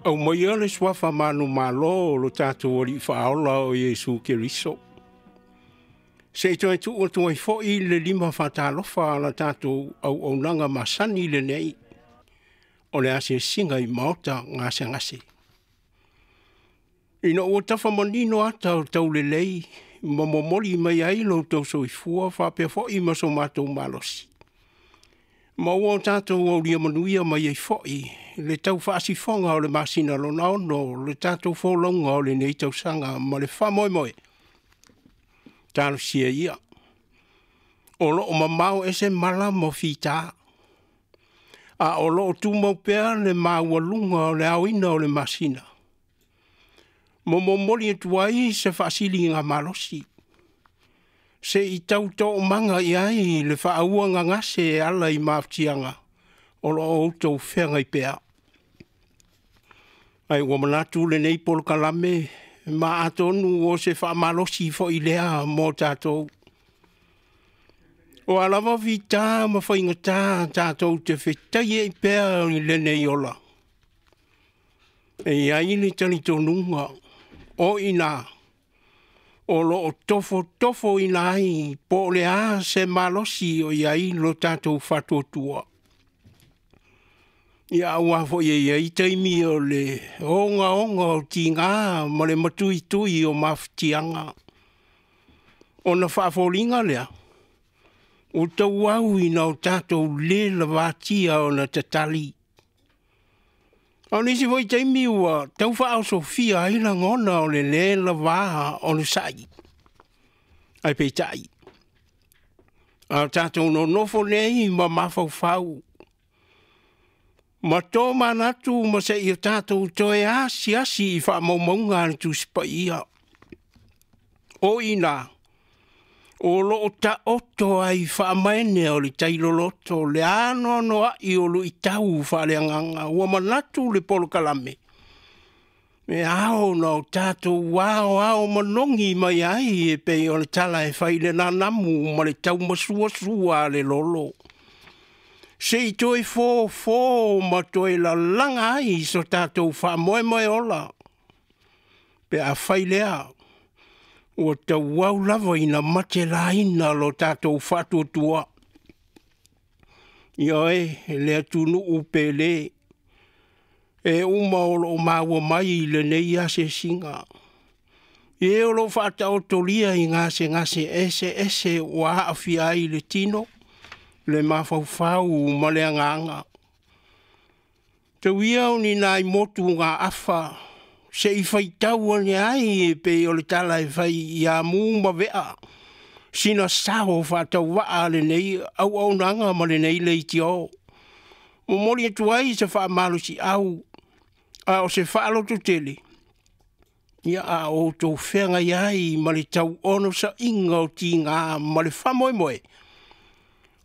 Aumaia le suafa manumalo o lo tatou Alii Faaola o Iesu Keriso. Se i toe tuu atu ai foi le lima faatalofa a la tatou auaunaga masani lenei, o le asiasiga i maota gasegase. Ina ua tafa manino ata o taulelei ma momoli mai ai lo outou soifua faapea foi ma so matou malosi, ma ua tatou aulia manuia mai ai foi le tau faasifoga o le masina lona 6 o le tatou folauga o lenei tausaga ma le faamoemoe, talosia ia, o lo o mamao ese mala ma fita, a o lo o tumau pea le maualuga o le aoina o le masina, ma momoli atu ai se faasiligamalosi se i tau toomaga i ai le faauagagase e ala i mafatiaga o lo o outou feagai pea. Ae ua manatu lenei polokalame, ma atonu o se faamalosi foi lea mo tatou. O a lava fita ma faigata tatou te fetaiai pea i lenei ola, e i ai le talitonuga o i ina o lo o tofotofoina ai po o le a se malosi o i ai lo tatou faatuatua. Ia, aua foi e i ai taimi o le ogaoga o tiga ma le matuitui o mafatiaga, ona faafoliga lea ua tauau ina o tatou le lavatia ona tatali. A o nisi foi taimi ua tau faaosofia ai lagona o le lē lava onosai, ae peitai, a o tatou nonofo nei ma mafaufau ma tomanatu ma se i o tatou toe asiasi i faamaumauga a le Tusi Paia, o i ina o lo o taoto ai faamaene o le tai loloto le anoanoai o luitau faaleagaga. Ua manatu le polokalame, e ao ona o tatou aoao manogi mai ai e pei o le tala e fai i le nanamu ma le taumasuasua a le lolo, se i toe fofo ma toe lalaga ai so tatou faamoemoe ola, pe afai lea ua tauau lava ina matelaina lo tatou faatuatua. Ioe, le atunuu pele, e uma o lo o maua mai i lenei asiasiga, e o lo o faataotolia i gasegase eseese ua aafia ai le tino, le mafaufau ma le agaga. Tau ia o ni nai motugaafa se i faitau ane ai e pei o le tala e fai ia mu ma vea sina sao faatauvaa a lenei auaunaga ma lenei leitio. Momoli atu ai se faamalosiau a o se faalototele, ia a o outou feagai ai ma le tau onosaiga o tiga ma le faamoemoe,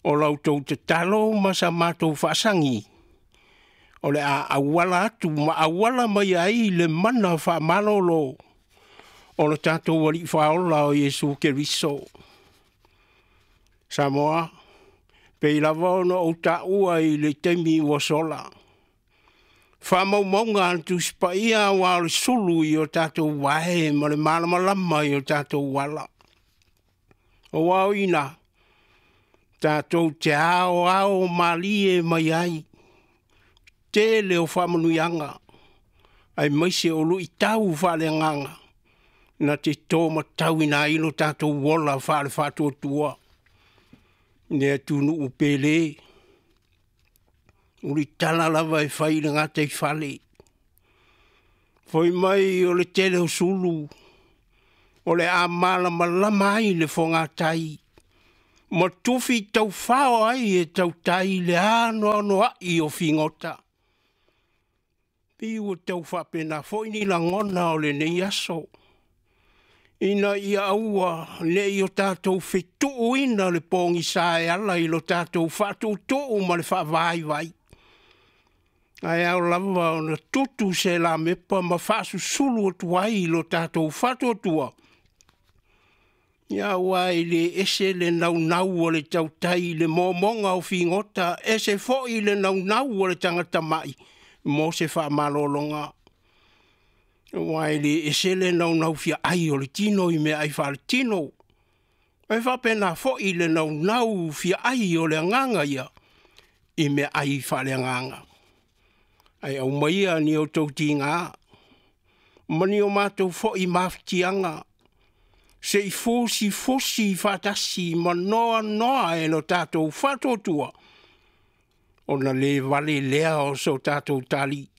o la outou tatalo ma sa matou faasagi, o le a auala atu ma auala mai ai le mana faamalolo o lo tatou Alii Faaola o Iesu Keriso. Samoa, pei lava ona ou taua i le taimi ua sola, faamaumauga a le Tusi Paia aua o le sulu i o tatou vae ma le malamalama i o tatou ala. Aua o i ina tatou te aoao malie mai ai tele o faamanuiaga, aemaise o luitau faaleagaga na te tomatauina ai lo tatou ola faale-faatuatua. Le atunuu pele, ulitala lava e fai i le gataifale, fai mai o le tele o sulu o le a malamalama ai le fogatai ma tufi taufao ai e tautai le anoanoai o figota. Pei ua tau faapena foi ni lagona o lenei aso, ina ia aua ne i o tatou fetuuina le pogisa e ala i lo tatou faatuutuu ma le faavaivai, ae ao lava ona tutu se lamepa ma faasusulu atu ai lo tatou faatuatua, aua e le ese le naunau o le tautai i le momoga o figota, ese foi le naunau o le tagata mai mo se faamalologa. Aua e le ese le naunau fia ai o le tino i meaai faaletino, ae faapena foi le naunau fia ai o le agaga ia i meaai faaleagaga. Ae aumaia ni outou tiga ma ni o matou foi mafatiaga se i fusifusi faatasi ma noanoa e lo tatou faatuatua, ona le vale lea o so tatou talii.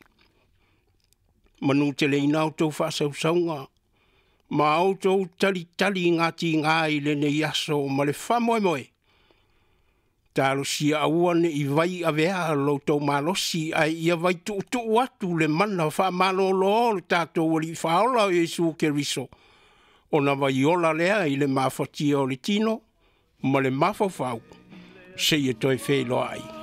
Manuteleina a outou faasausauga ma a outou talitaligatigā i lenei aso ma le faamoemoe, talosia aua ne i vaiavea lo outou malosi, ae ia vaituutuu atu le mana faamalōlō o le tatou Alii Faaola o Iesu Keriso, ona vaiola lea i le mafatia o le tino ma le mafaufau, seia toe feiloai.